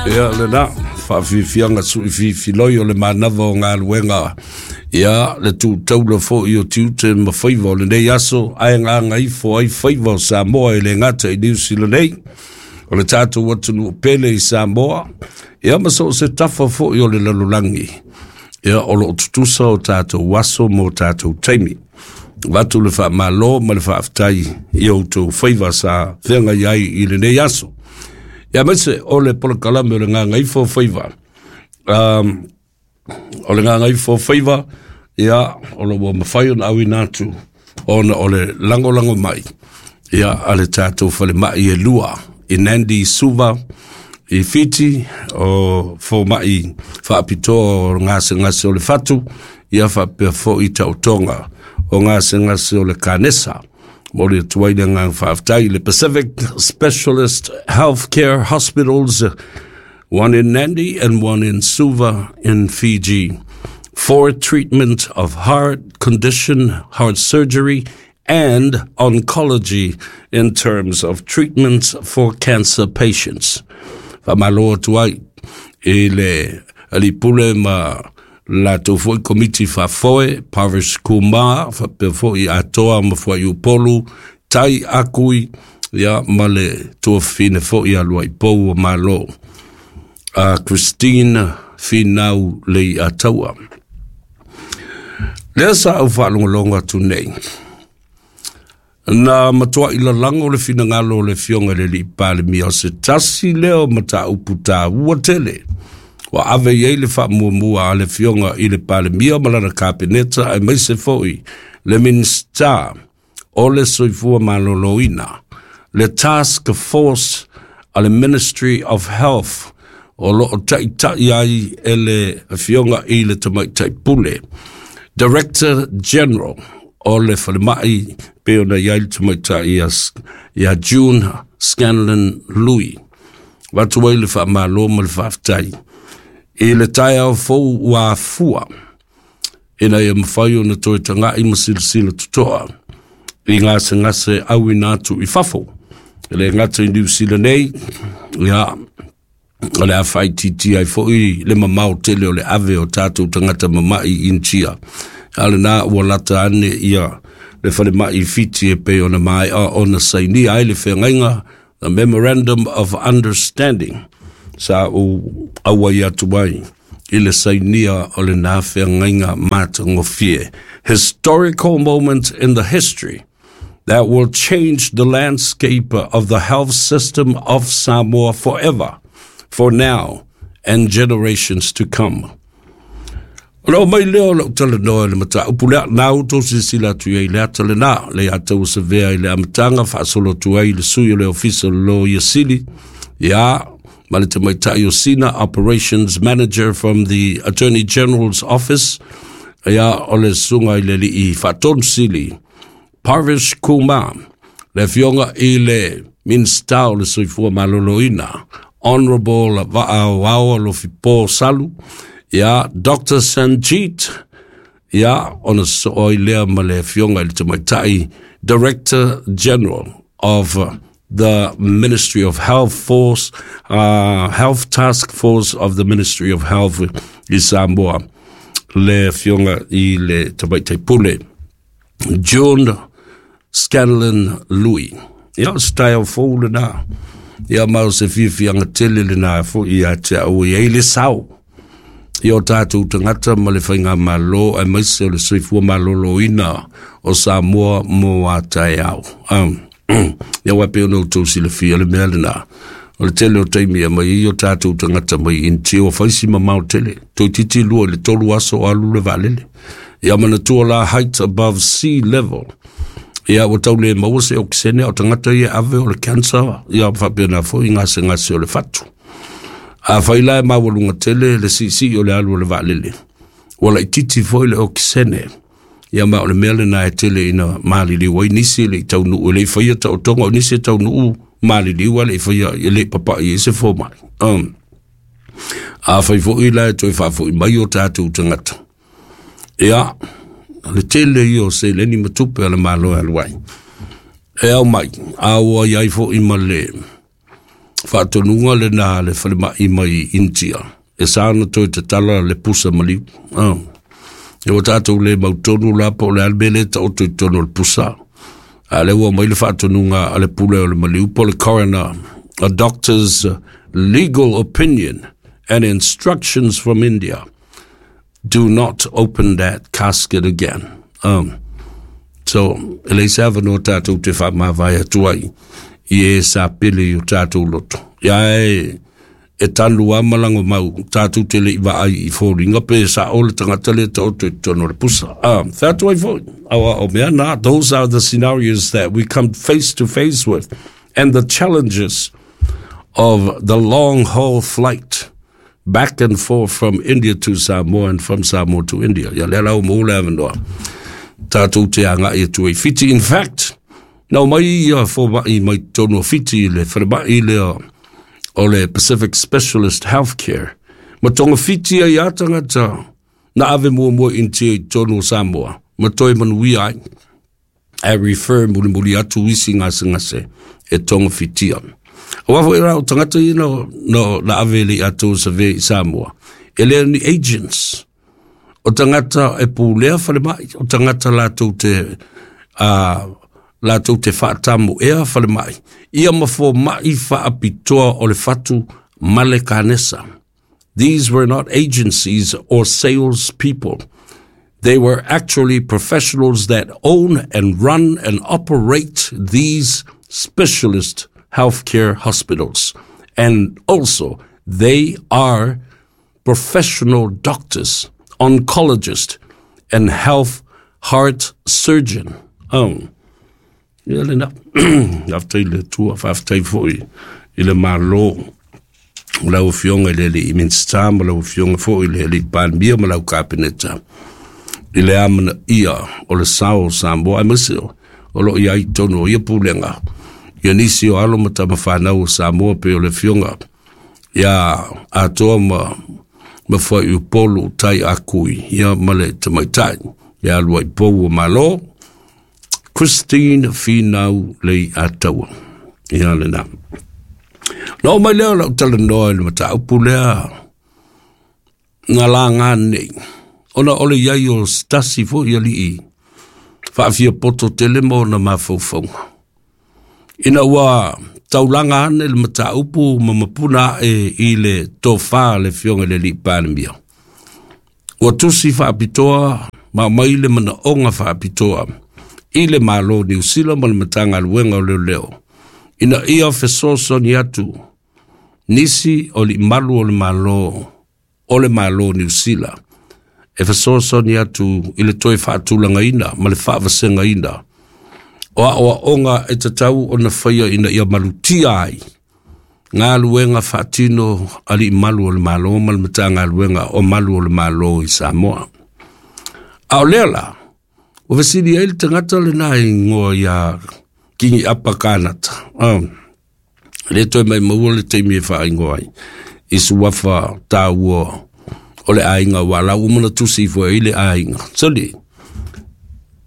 Ia lena faafiafiaga suʻifiifiloi o le manava o galuega, ia le tutaula foʻi o tiute ma faiva o lenei aso, ae gagaifo ai faiva o Samoa e le gata i Niusila nei, o le tatou atunuu pele i Samoa, ia ma so o se tafa foʻi o le lalolagi. Ia o loo tutusa o tatou aso mo tatou taimi. Avatu le faamalo ma le faafetai i outou faiva sa feagai ai i lenei aso. Ia aemaise o le polokalame o le Gagaifo Faiva. O le Gagaifo Faiva, ia, o lo ua mafai ona auina atu ona o le lagolago mai ia a le tatou falemai e lua i Nandi Suva i Fiti, o fomai faapitoa o gasegase o le fatu, ia faapea foi taotoga o gasegase o le kanesa. Momoli atu ai le agaga faafetai i le Pacific Specialist Healthcare Hospitals, one in Nandi and one in Suva in Fiji, for treatment of heart condition, heart surgery, and oncology in terms of treatments for cancer patients. Faamalo atu ai i le alii pule ma latou foi komiti faafoe, Parvish Kumar, faapea foi Atoa ma Fuaiupolu, Tai Akui, ia ma le tuafafine foi a Luaipou o Malo, a Christine Finau Leiataua. Lea sa au faalogologo atu nei, na matuai lalago le finagalo o le Afioga i le Alii Palemia o se tasi lea o mataupu taua tele ua ave i ai le faamuamua a le Afioga i le Palemia ma lana Kapeneta, aemaise foi le Minisita o le Soifua Maloloina, le Task Force a le Ministry of Health o lo o taʻitaʻi ai e le Afioga i le Tamaitai Pule, Director General o le Falemai pei ona i ai le tamaitai ia June Scanlon Lui. Avatu ai le faamalo ma le faafetai i le taeao fou ua afua ina ia mafai ona toe taga'i ma silasila totoa i gasegase auina atu i fafo. E le gata i Niu Sila nei, ia, o le a faaitiitia ai foi le mamao tele o le ave o tatou tagata mama'i i Initia. A o lena ua lata ane ia le falemai i Fiti e pei ona maea ona sainia ai le feagaiga, the Memorandum of Understanding, sa ou auai atu ai i le sainia o lena feagaiga matagofie. Historical moment in the history that will change the landscape of the health system of Samoa forever, for now and generations to come. O le mai lea o lau talanoa i le mataupu lea, na outou silasila atu i ai le ata lena, le ia tau sevea i le amataga faasolo atu ai le sui o le Ofisa o le Loia Sili, ia, ma le tamaitai o Sina, Operations Manager from the Attorney General's Office, ia, o le susuga i le alii faatonu sili, Parvish Kumar, le afioga i le Minista o le Soifua Maloloina, Honorable Va'aoao Alofipo Salu, ia, Dr. Sanjeet, ia, ona sosoo ai lea ma le afioga i le tamaitai Director General of the Ministry of Health Force, Health Task Force of the Ministry of Health i Samoa, le afioga i le tamaitai pule, June Scanlon Lui. Ia, o se taeao fou lena. Ia, ma o se fiafiaga tele lena foi ia te au e ai le sao i o tatou tagata ma le faigamalo aemaise o le soifua maloloina o Samoa mo a taeao. Ia aua e pei ona outou silafia le mea lena, o le tele o taimi e aumai ai o tatou tagata mai Initia ua fai si mamao tele, toeitiiti 2 i le 3 aso o alu le vaalele. Ia manatua la height above sea level. Ia ua tau le maua se okisene o tagata ia e ave o le cancer, ia faapena foi gasegase o le fatu. Afai la e maualuga tele le siisii o le alu o le vaalele, ua laitiiti foi le okisene. Ia ma o le mea lena e tele ina maliliu ai nisi e le i taunuu, e le i faia taotoga, o nisi e taunuu maliliu a le i faia, e le i papai ai se fomai. Afai foi la e toe faafoi mai o tatou tagata, ia, o le tele ia o seleni ma tupe a le Malo e alu ai, e ao mai, a ua i ai foi ma le Faatonuga lena a le falemai mai Initia, e sa ona toe tatala le pusa maliu. E ua tatou le mautonu la po o le a le mea lea e taoto i totonu o le pusa. A o lea ua aumai le faatonuga a le pule o le maliu po o le coroner, a doctor's legal opinion and instructions from India. Do not open that casket again. So, e leai se avanoa tatou te faamavae atu ai i e sa pele i o tatou loto. Ia e, e tanu a malago mau tatou te le i vaai i foliga pe sa'o le tagata lea taoto i totonu o le pusa. Fai atu ai foi, aua o mea na, those are the scenarios that we come face to face with and the challenges of the long haul flight back and forth from India to Samoa and from Samoa to India. Ia lea la ua maua le avanoa tatou te agai atu ai Fiti. In fact, na omai ia fomaʻi mai totonu o Fiti i le falemai lea o le Pacific Specialist Healthcare. Ma togafiti ai a tagata na ave muamua i Initia i totonu o Samoa ma toe manuia ai. E refer mulimuli atu isi gasegase e togafitia. Aua foi la o tagata ia na ave le i atou save i Samoa, e le o ni agents. O tagata e pulea falemai, o tagata latou te latou te faatamoea falemai, ia ma fomaʻi faapitoa o le fatu ma le kanesa. These were not agencies or sales people. They were actually professionals that own and run and operate these specialist healthcare hospitals. And also, they are professional doctors, oncologists, and health heart surgeon. Ia lena. Faafetai i le Atua, faafetai foi i le Malo, o lau Afioga i le Alii Minisita ma lau Afioga foi i le Alii Palemia ma lau Kapeneta i le amanaia o le sao o Samoa, aemaise o lo o i ai i totonu o ia pulega ia nisi o alo ma tama fanau o Samoa pei o le Afioga ia Atoa ma Fuaiupolu Tai Akui ia ma le tamaitai ia Luaipou o Malo Christine Finau Leiataua. Ia lena. Na oo mai lea o lau talanoa i le mataupu lea na laga nei, ona o le i ai o se tasi foi alii faafiapoto tele ma ona mafaufauga. Ina ua taulaga ane le mataupu ma mapuna ae i le tofa a le Afioga i le Alii Palemia, ua tusi faapitoa ma aumai le manaoga faapitoa i le Malo o Niu Sila ma le Matagaluega o Leoleo ina ia fesoasoani atu nisi o alii malu o le Malo o le Malo o Niu Sila e fesoasoani atu i le toe faatulagaina ma le faavasegaina o aoaoga e tatau ona faia ina ia malutia ai galuega faatino alii malu o le Malo ma le Matagaluega o Malu o le Malo i Samoa. A o lea la, ua fesili ai le tagata lena i ingoa ia Kingi Apa Kanata. Le toe mai maua le taimi e faaingoa ai i suafa tāua o le aiga ua lau uma na tusi ifo ai le aiga. Soli,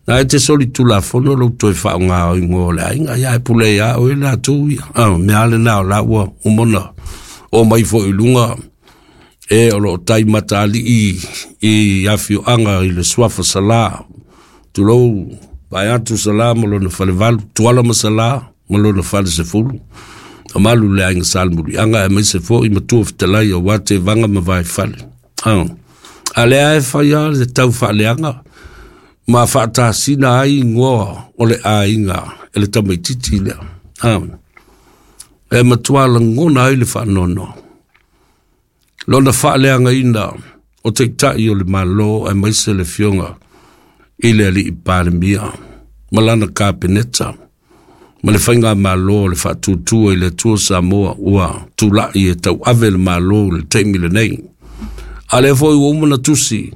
na e te soli tulafono lou toe faaaoga o ingoa o le aiga, ia e pule ia oe latou ia. Mea lena o la ua uma ona oo mai foi i luga e o lo o tai matalii i afioaga i le suafa Salā. Tulou, vae atu Salā ma lona falevalu, Tuala ma Salā ma lona falesefulu. Mamalu le aiga Salemuliaga aemaise foi matua fetalai aua Tevaga ma Vaifale. A lea e fai lava le tau faaleaga ma faatasina ai ingoa o le aiga e le tamaitiiti lea. E matua lagona ai le faanoanoa. Lona faaleagaina o Taitai o le Malo aemaise le Afioga i le Alii Palemia ma lana Kapeneta ma le Faigamalo o le Faatuatua i le Atua Samoa ua tulai e tauave le Malo i le taimi lenei. A lea foi ua uma ona tusi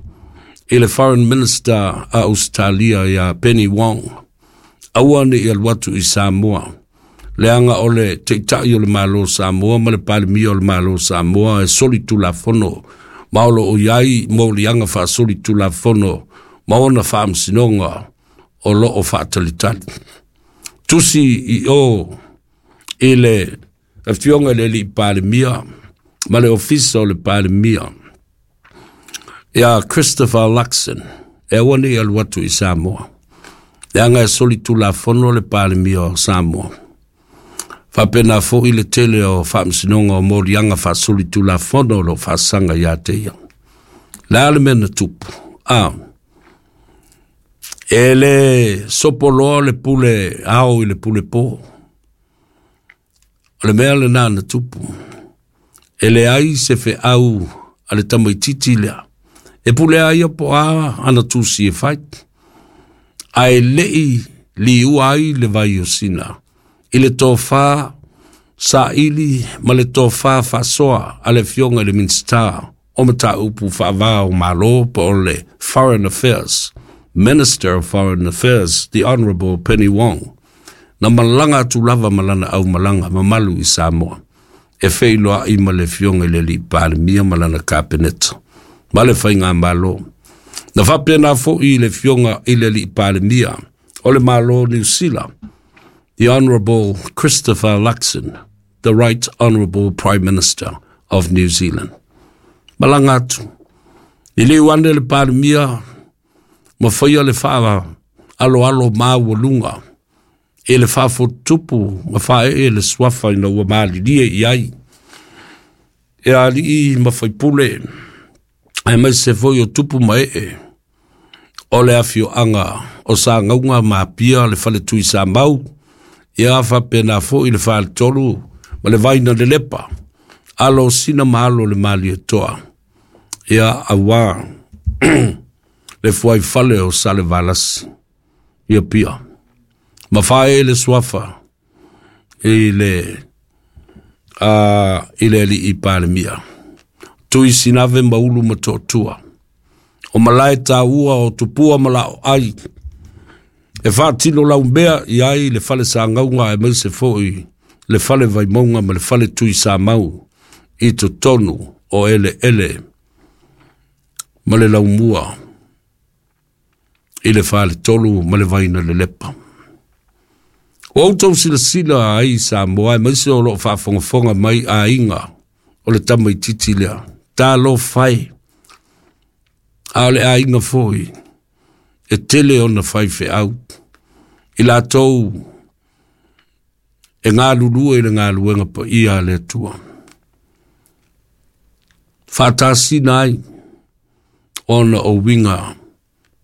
i le Foreign Minister a Ausetalia ia Penny Wong, aua ne i alu atu i Samoa, leaga o le Taitai o le Malo o Samoa ma le Palemia o le Malo o Samoa e solitulafono ma o lo o i ai moliaga faasolitulafono ma ona faamasinoga o lo o faatalitali. Tusi i o i le Afioga i le Alii Palemia ma le Ofisa o le Palemia ia Christopher Luxon e aua nei alu atu i Samoa, leaga e solitulafono le Palemia o Samoa. Faapena foi le tele o faamasinoga o moliaga faasolitulafono o lo o faasaga ia te ia. Le a le mea na tupu? E le sopoloa le pule ao i le pule po. O le mea lena na tupu. E leai se feau a le tamaititi lea. E pule a ia po a ana tusi e fai. Ae lei liua ai le vai o Sina i le tofa saili ma le tofa faasoa a le Afioga i le Minisita o Mataupu Faava o Malo po o le Foreign Affairs, Minister of Foreign Affairs, the Honourable Penny Wong, na malaga atu lava ma lana aumalaga mamalu i Samoa e feiloai ma le Afioga i le Alii Palemia ma lana Kapeneta ma le Faigamalo. Na faapena foi le Afioga i le Alii Palemia o le Malo o Niu Sila, the Honourable Christopher Luxon, the Right Honourable Prime Minister of New Zealand. Malaga atu. Liliu ane le Palemia ma faia le faa aloalo maualuga e le faafotutupu ma faaee le suafa ina ua malilie i ai e alii ma faipule aemaise foi o tupu ma ee o le afioaga o Sagauga ma Apia le faletui Samau, ia faapena foi le faletolu ma le vaina lelepa, alo o Sina ma alo o le Malietoa, ia auā le fuaifale o Salevalasi i Apia. Ma faaee le suafa i le i le Alii Palemia. Tui Sinave ma Ulu ma Toatua. O malae taua o tupua ma lao ai. E faatino laumea i ai le fale sagauga aemaise foi le fale vaimauga ma le fale tui Samau i totonu o eleele ma le laumua i le faletolu ma le vaina lelepa. Ua outou silasila ai Samoa aemaise o loo faafogafoga mai aiga o le tamaititi lea. Talofa e, a o le aiga foi e tele ona faifeau i latou e galulue i le galuega paia a le Atua. Faatasina ai ona o uiga